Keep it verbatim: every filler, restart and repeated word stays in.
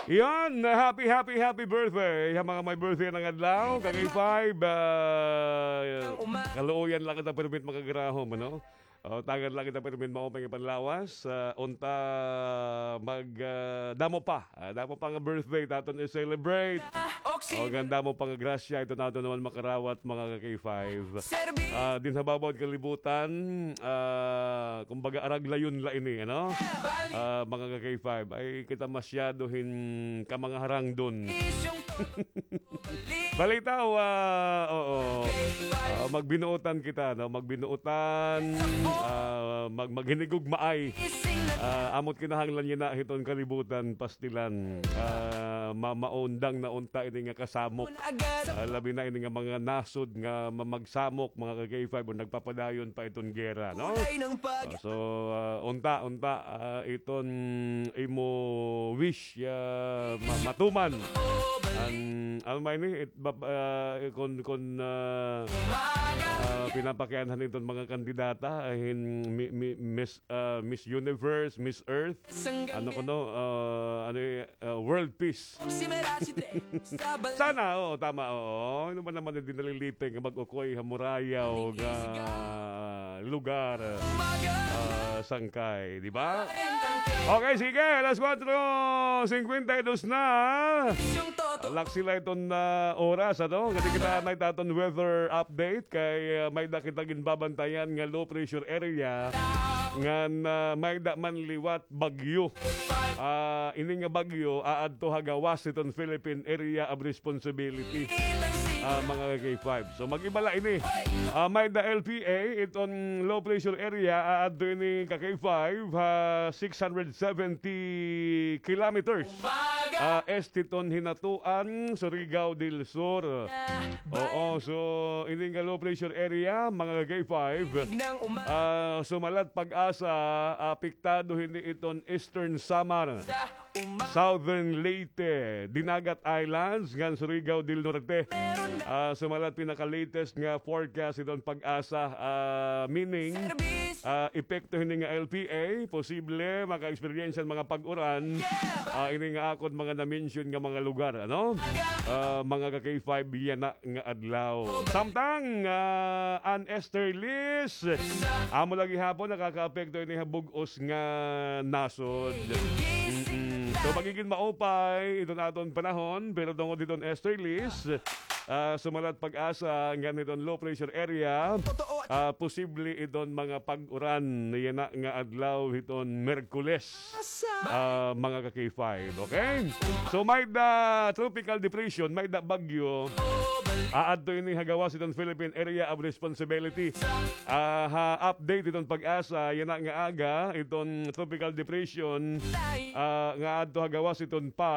Yan, happy, happy, happy birthday ha mga may birthday ngada adlaw. Kay five, ah, kaluoyan la kita pirmi makagarahom, ano? O, tagan la kita pirmi maupay nga panlawas. Ah, unta mag, ah, damo pa. Ah, damo pa nga birthday it aton i-celebrate. O, ngan damo pa nga grasya iton aton naman makarawat, mga ka-K five. Ah, dinha ha baba han kalibutan, ah, kumbaga, araglayon la ini, ano? Ah, mga ka-K five, ay kita masyado hin kamangaharangdon. Balitaw, ah, oo. Ah, magbinuotan kita, no? Magbinuotan, ah, mag-, maghinigugmaay. Ah, amo it kinahanglan yana hiton kalibutan, pastilan. Ah, ma-, maundang na unta ini nga kasamok. Ah, labi na ini nga mga nasod nga mamagsamok, mga ka-K five, o nagpapadayon pa iton gera, no? Ah, so, ah, unta, unta, ah, iton imo wish, ah, ma-, matuman. An, ano man ini, it, ba-, ah, kon, kon, ah, ah, pinapakianhan iton mga kandidata, ah, hin mi-, mi-, Miss, ah, Miss Universe, Miss Earth, ano kuno, ah, ano, eh, ah, World Peace. Sana, oo, tama, oo. Ano ba naman, hindi nalilipay nga mag-ukoy ha murayaw nga lugar, ah, sangkay, di ba? Okay, sige, alas kwatro singkwenta y dos na. Laksi la iton, ah, oras, ano? Kadi kita anay it aton weather update kay, ah, may-ada kita ginbabantayan nga low pressure area ngan, ah, may-ada man liwat bagyo. Ah, ini nga bagyo aadto ha gawas hiton Philippine Area of Responsibility, ah, mga ka-K five. So, mag-iba la ini. Ah, may-ada L P A, iton low pressure area, aadto ini, ka-K five, ha six hundred seventy kilometers. Ah, este hiton Hinatuan, Surigao del Sur. Oo, so, ini nga low pressure area, mga ka-K five, ah, sumalat PAGASA, apektado hini iton Eastern Samar, Southern Leyte, Dinagat Islands, ngan Surigao del Norte. Ah, sumalat pinaka-latest nga forecast iton PAGASA, ah, meaning, ah, epekto hini nga L P A, posible maka-experience an mga pag-uran, ah, ini nga akon mga na-mention nga mga lugar, ano? Ah, mga ka-K five, yana nga adlaw. Samtang, ah, an easterlies, amo la gihapon nakakaapekto ini ha bug-os nga nasod. Mm-mm. So, magigin maupay iton aton panahon, pero tungod hiton easterlies, ah, sumalat PAGASA ngan hiton low pressure area, ah, posible iton mga pag-uran yana nga adlaw hiton Merkules. Ah, mga ka-K five, okay? So, may-ada tropical depression, may-ada bagyo. Aadto ini ha gawas hiton Philippine Area of Responsibility. Ah, ha update hiton PAGASA, yana nga aga, iton tropical depression, ah, nga aadto ha gawas hiton PAR,